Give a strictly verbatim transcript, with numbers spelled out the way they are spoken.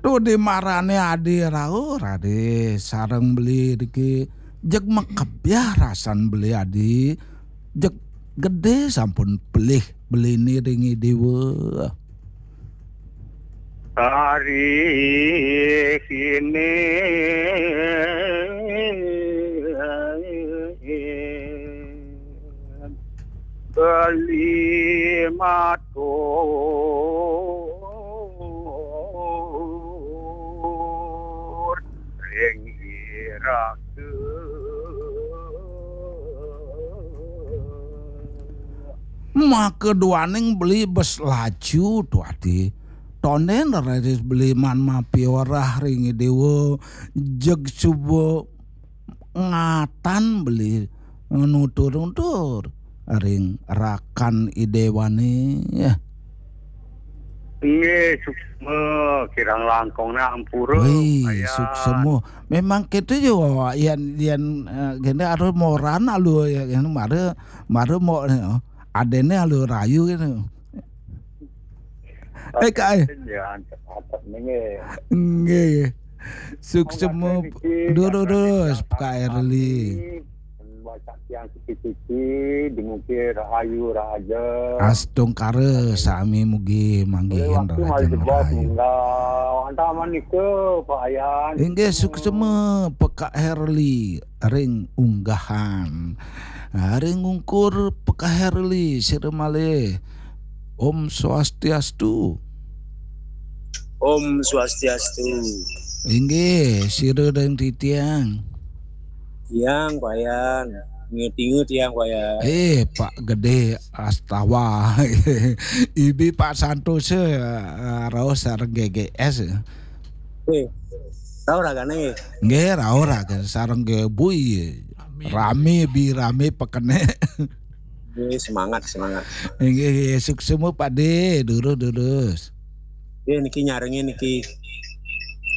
Tuh di marane adi rauh, adi sareng beli niki jeg makebyah rasan beli adi, jeg gede sampun pelih beline ring Idewa. Ari kini beli matur ring iraga. Maka duaning beli bes laju tuati. Tonden raris beli man mapiorah ring Idewa, jeg suba ngatan beli nutur-nutur ring rakan Idewane. Nggih, suksma, kirang langkung ampura. Wih, suksma. Memang gitu ya, yen, yen, eh, gini harus moran alu ya, yen mara, mara mo, eh, adene alu rayu gitu. Eh, Kak, eh. Ya, antep-antep nggih. Nggih. Suksma. Durus, Kak Erli. Wacak tiang siki-siki, dumugi rahayu rahaja. Astungkara sami mugi manggihin rahaja. Wantah manika, Pak Ayan. Inggih, suksma Pekak Herli ring unggahan. Ring ungkur Pekak Herli, sira malih. Om Swastiastu. Om Swastiastu. Inggih, sira ring titiang. Tiang, Pak Yan. Ngetingu tiang, Pak Yan. Eh, Pak Gede Astawa. Ibi Pak Santosa, eh, raos sareng G G S. Eh, rauh ragane. Nggih, rauh ragane sareng G Bui. Rame, bi rame pekene. Nggih, semangat, semangat. Nggih, nggih, suksma Pak De, durus, durus. Nggih, niki nyarengin niki.